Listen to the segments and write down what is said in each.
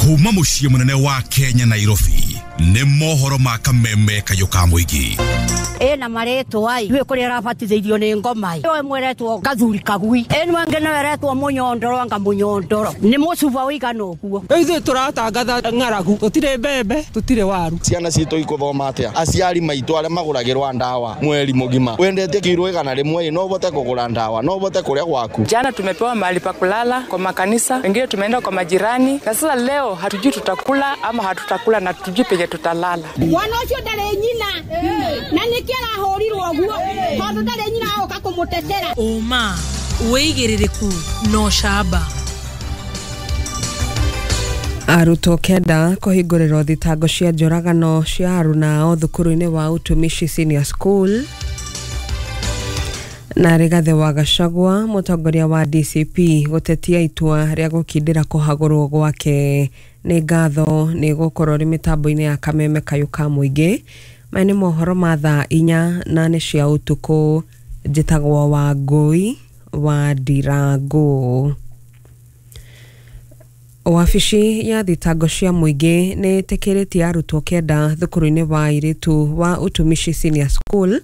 Kuma muciĩ munene wa Kenya Nairobi nĩ mohoro ma kameme kayũ ka mũingĩ. Ĩna marĩtwa ai rä kå rä arabatithĩirio nĩ ngoma ĩ mweretwo gathuri kagui ĩno ĩngĩ no ĩretwo mũnyondoro anga mũnyondoro nĩ mũcuba ũigana ũguo. Rĩu ithuĩ tũratangatha ng'aragu, tũtirĩ mbembe, tũtirĩ waru. Ciana citũ ikuthoma atĩa? Aciari maitũ arĩa magũragĩrwa ndawa mweri mũgima, wendete kiro 100 no ũhote kũgũra ndawa, no ũhote kũrĩa gwaku. Jana tumepewa mahali pa kulala kwa makanisa, wengine tumeenda kwa majirani, na sasa leo hatujui tutakula ama hatutakula na hatujui penye tutalala. Mwana ũcio ndarĩ nyina na nĩkĩo arahũrirwo ũguo tondũ ndarĩ nyina agoka kũmũtetera. Ũma wĩigĩrĩrĩku no camba. Arutwo 9 kũhingũrĩrwo thitango cia njũragano cia aruna ao thukuru-inĩ wa Utumishi Senior School. Na Rigathĩ wa Gachagua mũtongoria wa DCP gũtetia itua rĩa gũkindĩra kũhagũrwo gwake. Nĩ ngatho nĩ gũkorwo rĩ mĩtambo-inĩ ya kameme kayũ ka mũingĩ. Maya nĩ mohoro ma thaa 4 na nĩ cia ũtukũ. Njĩtagwo Wangũi wa Ndirango. Wabici ya thitango cia mũingĩ nĩ ĩtĩkĩrĩtie arutwo 9 thukuru-inĩ wa airĩtu wa Utumishi Senior School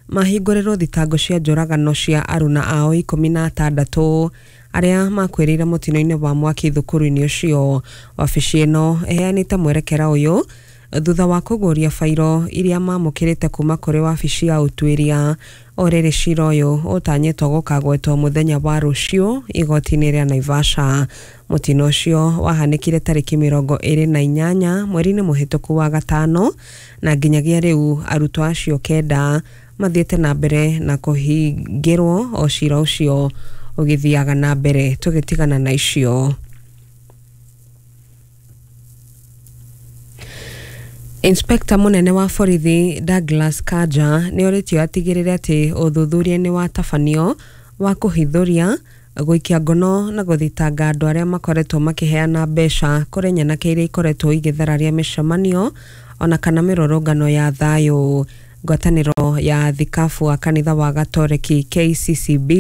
mahingũrĩrwo thitango cia njũragano cia aruna ao 16 arĩa makuĩrĩire mũtino-inĩ wa mwaki thukuru-inĩ ũcio. Wabici ĩno ĩheanĩte mwerekera ũyũ thutha wa kũgũria bairo iria mamũkĩrĩte kuma kũrĩ wabici ya ũtuĩria. O rĩrĩ cira ũyũ ũtanyĩtwo gũkagwetwo mũthenya wa rũciũ igoti-inĩ rĩa Naivasha. Mũtino ũcio wahanĩkire tarĩki 28 mweri-inĩ mũhĩtũku wa gatano, na nginyagia rĩu arutwo acio 9 mathiĩte na mbere na kũhingĩrwo o cira ũcio ũgĩthiaga na mbere. Tũgĩtigana na icio. Inspector munene wa borithi Douglas Kanja nĩ orĩtio atigĩrĩre atĩ ũthuthuria nĩ watabanio wa kũhithũria, gũikia ngono na gũthitanga andũ arĩa makoretwo makĩheana mbeca kũrĩ nyanake iria ikoretwo igĩthararia mĩcemanio ona kana mĩrũrũngano ya thayũ. Ngwatanĩro ya thikabu wa kanitha wa Gatoreki KCCB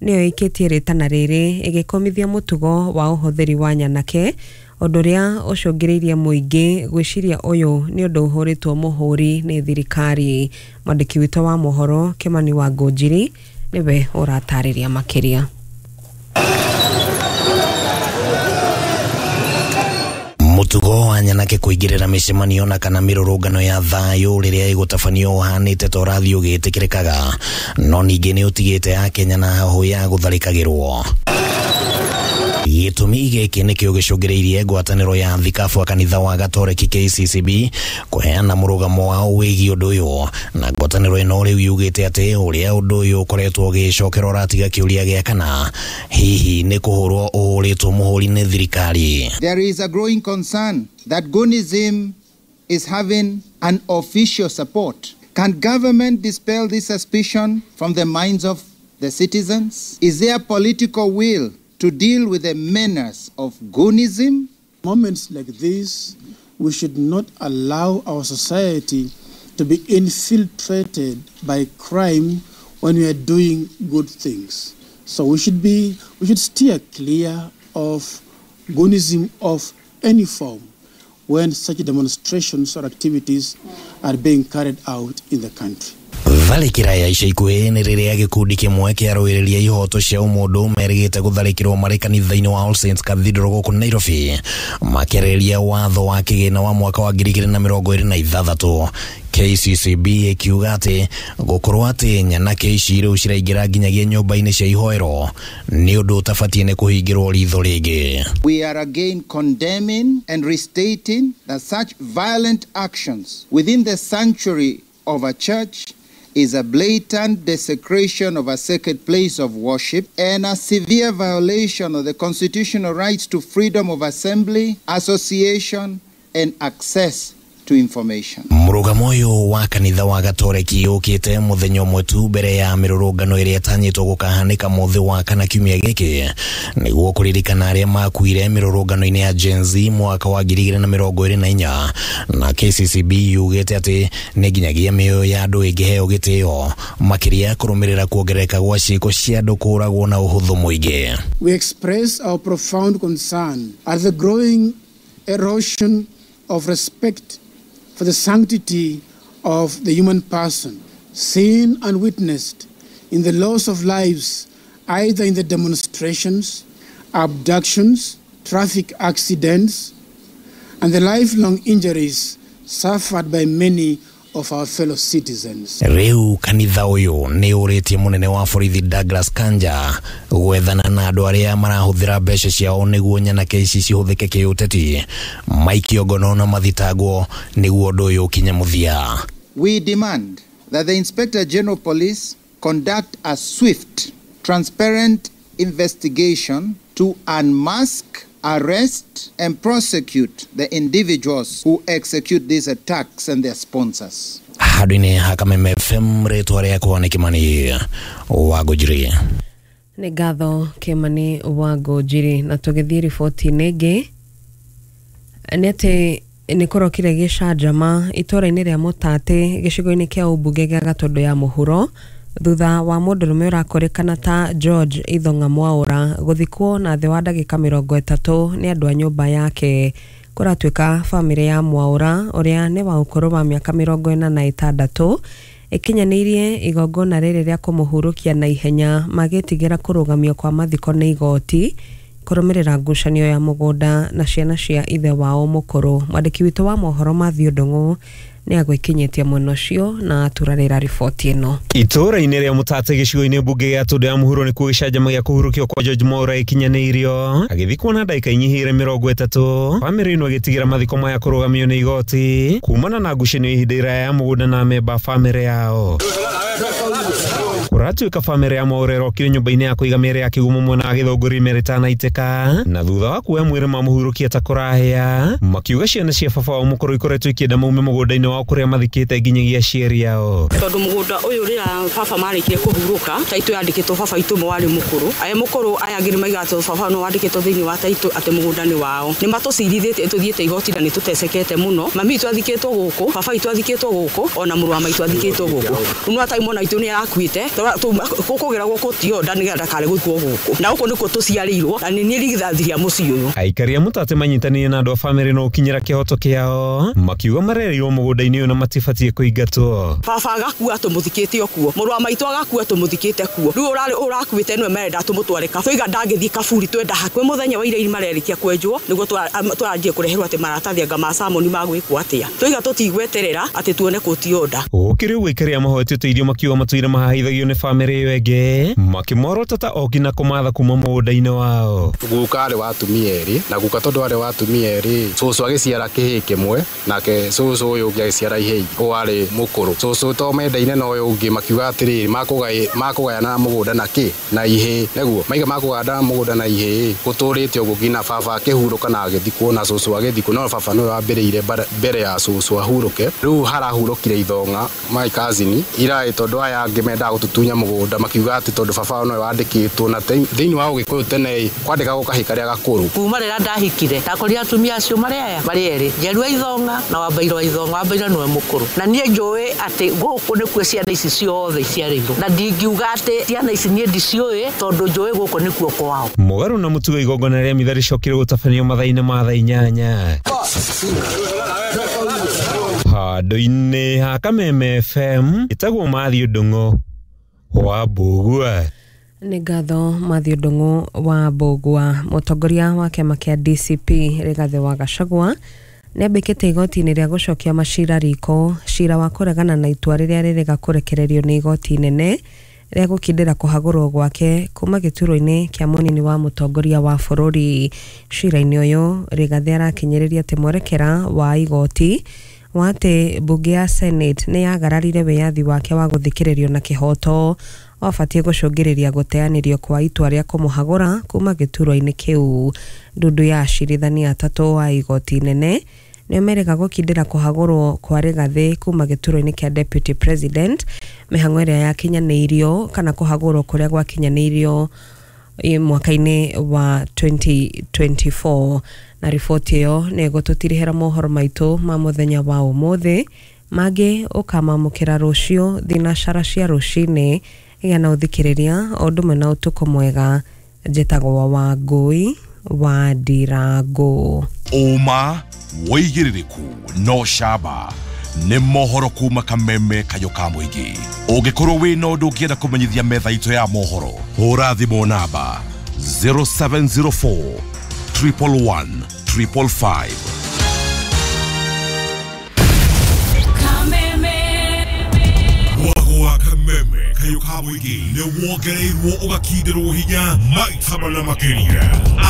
nĩyo ĩkĩtie rĩtana rĩrĩ ĩgĩkomithia mũtugo wa ũhũthĩri wa nyanake, ũndũ ũrĩa ũcũngĩrĩirie mũingĩ gwĩciria ũyũ nĩ ũndũ ũhũrĩtwo mũhũri nĩ thirikari. Mwandĩki witũ wa mohoro Kĩmani wa Ngũnjiri nĩwe ũratarĩria makĩria. Mũtugo wa nyanake kũingĩrĩra mĩcemanio na kana mĩrũrũngano ya thayũ rĩrĩa ĩgũtabanio ũhanĩte ta ũrathiĩ ũgĩtĩkĩrĩkaga, no ningĩ nĩ ũtigĩte Akenya na hahũ ya gũtharĩkagĩrwo. Gĩtũmi gĩkĩ nĩkĩo gĩcũngĩrĩirie ngwatanĩro ya thikabu wa kanitha wa Gatoreki KCCB kũheana mũrũgamo wao wĩgiĩ ũndũ ũyũ, na ngwatanĩro ĩno rĩu yugĩte atĩ ũrĩa ũndũ ũyũ ũkoretwo ũgĩcokera ũratiga kĩũria gĩa kana hihi nĩ kũhũrwo ũhũrĩtwo mũhũri nĩ thirikari. There is a growing concern that Gunism is having an official support. Can government dispel this suspicion from the minds of the citizens? Is there political will to deal with the menace of Gunism? Moments like this, we should not allow our society to be infiltrated by crime when we are doing good things. So we should steer clear of Gunism of any form when such demonstrations or activities are being carried out in the country. Tharĩkĩra ya ica ikuhĩ nĩ rĩrĩa gĩkundi kĩmwe kĩarũĩrĩria ihoto cia ũmũndũ merĩgĩte gũtharĩkĩrwo marĩ kanitha-inĩ wa All Saints Cathedral gũkũ Nairobi, makĩarĩrĩria watho wa kĩgĩna wa mwaka wa 2026. KCCB ĩkiuga atĩ gũkorwo atĩ nyanake ici rĩu ciraingĩra nginyagia nyũmba-inĩ cia ihoero nĩ ũndũ ũtabatiĩ nĩ kũhingĩrwo ritho rĩngĩ. We are again condemning and restating that such violent actions within the sanctuary of a church is a blatant desecration of a sacred place of worship and a severe violation of the constitutional rights to freedom of assembly, association, and access to information. Mũrũgamo ũyũ wa kanitha wa Gatoreki ũkĩte mũthenya ũmwe tu mbere ya mĩrũrũngano ĩrĩa ĩtanyĩtwo gũkahanĩka mũthĩ wa kana kiumia gĩkĩ nĩguo kũririkana arĩa makuire mĩrũrũngano-inĩ ya Gen Z mwaka wa 2024, na KCCB yugĩte atĩ nĩ nginyagia mĩoyo ya andũ ĩngĩheo gĩtĩo makĩria kũrũmĩrĩra kuongerereka gwa ciĩko cia andũ kũũragwo na ũhũthũ mũingĩ. We express our profound concern at the growing erosion of respect for the sanctity of the human person, seen and witnessed in the loss of lives, either in the demonstrations, abductions, traffic accidents, and the lifelong injuries suffered by many of our fellow citizens. Riu kanitha uyu ni uritie munene wa borithi Douglas Kanja gwethana na andu aria marahuthira mbeca ciao niguo nyanake ici cihuthike kiuteti maikio ngono na mathitangwo niguo undu uyu ukinye muthia. We demand that the Inspector General Police conduct a swift, transparent investigation to unmask, arrest and prosecute the individuals who execute these attacks and their sponsors. Handũ-inĩ ha Kameme FM rĩtwa rĩakwa nĩ Kĩmani wa Ngũnjiri. Nĩ ngatho Kĩmani wa Ngũnjiri. Na tũgĩthiĩ riboti-inĩ ĩngĩ nĩ atĩ nĩ kũrokire gĩcanjama itũũra-inĩ rĩa Mũtatĩ gĩcigo-inĩ kĩa ũmbunge gĩa Gatũndũ ya Mũhuro thutha wa mũndũrũme ũrakũrĩkana ta George Ithong'a Mwaũra gũthikwo na thĩ wa ndagĩka 30 nĩ andũ a nyũmba yake. Kũratuĩka bamĩrĩ ya Mwaũra ũrĩa nĩ wa ũkũrũ wa mĩaka 46 ĩkinyanĩirie igongona rĩrĩ rĩa kũmũhurũkia na ihenya magĩtigĩra kũrũgamio kwa mathiko nĩ igoti kũrũmĩrĩra ngucanio ya mũgũnda na ciana cia ithe wao mũkũrũ. Mwandĩki witũ wa mohoro Matthew Ndung'u nĩ agwĩkinyĩtie mwena ũcio na aturarĩra riboti ĩno. Itũũra-inĩ rĩa Mũtate gĩcigo-inĩ mbunge gĩa Tũndũ ya Mũhuro nĩkuo gĩcanjama gĩa kũhurũkio kwa George Mwaũra ĩkinyanĩirio agĩthikwo na ndagĩka inyihĩire 30. Bamĩrĩ ĩno ĩgĩtigĩra mathiko maya kũrũgamio nĩ igoti kumana na ngucanio ihinda iraya ya mũgũnda na amemba a bamĩrĩ yao. Kũratuĩka bamĩrĩ ya Mwaũra ĩrokire nyũmba-inĩ ya kũiga mĩĩrĩ ya kĩgumo mwena wa Gĩthũngũri mĩĩrĩ ĩtanaitĩka na thutha wa kuoya mwĩrĩ mamũhurũkia ta kũrahĩa makiuga ciana cia baba wao mũkũrũ ikoretwo ikĩenda maume mũgũnda-inĩ wao kũrĩa mathikĩte nginyagia aciari ao. Tondũ mũgũnda ũyũ rĩrĩa baba marĩkire kũhurũka taitũ yandĩkĩtwo baba itũ ũmwe warĩ mũkũrũ aya mũkũrũ aya angĩ nĩmaigaga atĩ baba no wandĩkĩtwo thĩinĩ wa taitũ atĩ mũgũnda nĩ wao. Nĩ matũcirithĩtie tũthiĩte igoti na nĩ tũtecekete mũno. Mami witũ athikĩtwo gũkũ, baba witũ athikĩtwo gũkũ, ona mũrũ wa maitũ athikĩtwo gũkũ. Rĩu no mwana witũ nĩ arakuĩte kũgera gũkũ tio nda nĩgetha ndakare gũkuo gũkũ na gũkũ nĩkuo tũciarĩirwo na nĩ niĩ rigithathi rĩa mũciĩ ũyũ. Aikari a Mũtate manyitanĩire na andũ a bamĩrĩ no ũkinyĩra kĩhoto kĩao makiuga marereirwo mũgũnda-inĩ ũyũ na matibatiĩ kũingatwo. Baba agakua tũmũthikĩte o kuo, mũrũ wa maitũ agakua tũmũthikĩte kuo, rĩu ũrakuĩte nĩwe marenda tũmũtware tũiga ndangĩthiĩ kaburi twenda hakuĩ mũthenya wa ira marerĩkia kwenjwo nĩguo tũranjie kũreherwo atĩ maratathi anga ma samoni magwĩkwo atĩa tũiga tũtigweterera atĩ tuone kũtionda. Gũkĩrĩ ũguo aikari a mahoete ũteithio makiuga matũire mahahithagio nĩ bamĩrĩ ĩyo ĩngĩ makĩmorota ta oki na kũmatha kuma mũgũnda-inĩ wao. Guka arĩ wa atumia erĩ na guka tondũ arĩ wa atumia erĩ cũcũ agĩciara kĩhĩĩ kĩmwe nake cũcũ ũyũ ũngĩ agĩciara ihĩĩ ũyũ arĩ mũkũrũ. Cũcũ to mendaine na ũyũ ũngĩ makiuga atĩrĩrĩ makũgayana mũgũnda na kĩ na ihĩĩ nĩguo maiga makũgayana mũgũnda na ihĩĩ gũtũrĩte ũguo nginya baba akĩhurũka na agĩthikwo na cũcũ agĩthikwo no baba nĩwe wambĩrĩire mbere ya cũcũ ahurũke. Rĩu harahurũkire Ithong'a my cousin iraĩ tondũ aya angĩ mendaga gũtũtunya mũgũnda makiuga atĩ tondũ baba nĩwe wandĩkĩtwo na thĩinĩ wa Ũgĩkũyũ tene kwandĩkagwo kahĩĩ karĩa gakũrũ. Kuma rĩrĩa ndahikire ndakorire atumia acio marĩ aya marĩ erĩ Njeru wa Ithong'a na Wambairũ wa Ithong'a. Wambairũ nĩwe mũkũrũ na niĩ njũĩ atĩ gũkũ nĩkuo ciana ici ciothe iciarĩirwo na ndingiuga atĩ ciana ici niĩ ndiciũĩ tondũ njũĩ gũkũ nĩkuo kwao. Mũgarũ na mũtugo igongona rĩa mitha rĩcokire gũtabanio mathaa-inĩ ma thaa 8. Handũ-inĩ ha Kameme FM ĩtagwo Matthew Ndung'u wa Mbũgua. Nĩ ngatho Matthew Ndung'u wa Mbũgua. Mũtongoria wa kĩama kĩa DCP Rigathĩ wa Gachagua nĩambĩkĩte igoti-inĩ rĩa gũcokia macira riko cira wa kũregana na itua rĩrĩa rĩrĩga kũrekererio nĩ igoti inene rĩa gũkindĩra kũhagũrwo gwake kuma gĩturwa-inĩ kĩa mũnini wa mũtongoria wa bũrũri. Cira-inĩ ũyũ Rigathĩ arakinyĩrĩria atĩ mwerekera wa igoti wa atĩ mbunge ya Senate nĩ yagararire wĩyathi wake wa gũthikĩrĩrio na kĩhoto wabatiĩ gũcũngĩrĩria gũteanĩrio kwa itua rĩa kũmũhagũra kuma gĩturwa-inĩ kĩu. Ndundu ya acirithania atatũ a igoti inene nĩo merĩga gũkindĩra kũhagũrwo kwa Rigathĩ kuma gĩturwa-inĩ kĩa Deputy President mĩhang'o ĩrĩa yakinyanĩirio kana kũhagũrwo kũrĩa gwakinyanĩirio mwaka-inĩ wa 2024. Na riboti ĩyo nĩ ĩgũtũtirihĩra mohoro maitũ ma mũthenya wa ũmũthĩ mangĩ ũkamamũkĩra rũciũ thinacara cia rũcinĩ. Gĩa na ũthikĩrĩria o ũndũ ũmwe na ũtukũ mwega. Njĩtagwo Wangũi wa Ndirango. Ũma, wĩigĩrĩrĩku na ũcamba nĩ mohoro kuma kameme kayũ ka mũingĩ. Ũngĩkorwo wĩna ũndũ ũngĩenda kũmenyithia metha itũ ya mohoro, hũra thimũ namba 0704 111 555. Mwago wa kameme kayũ ka mũingĩ nĩ wongereirwo ũgakindĩrwo hinya maita mana makĩria.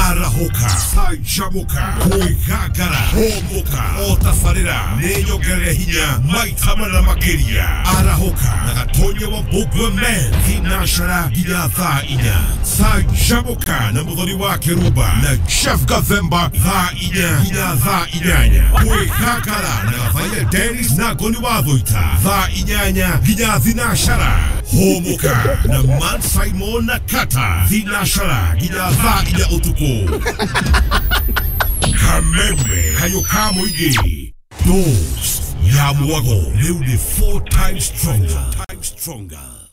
Arahũka, canjamũka, kwĩgangara, hũmũka, o tabarĩra nĩ nyongerere hinya maita mana makĩria. Arahũka na Gatonya wa Mbũngwe Men thinacara nginya thaa 4. Canjamũka na Mũthoni wa Kĩrumba na Jeff Gathemba thaa 4 nginya thaa 8. Kwĩgangara na Gathaiya Dennis na Ngoni wa Thũita thaa 8 nginya thinacara. Hũmũka na Man Simon na Kata thinacara nginya thaa 4 ũtukũ. Kameme kayũ ka mũingĩ, dose ya mwago rĩu nĩ 4 times stronger.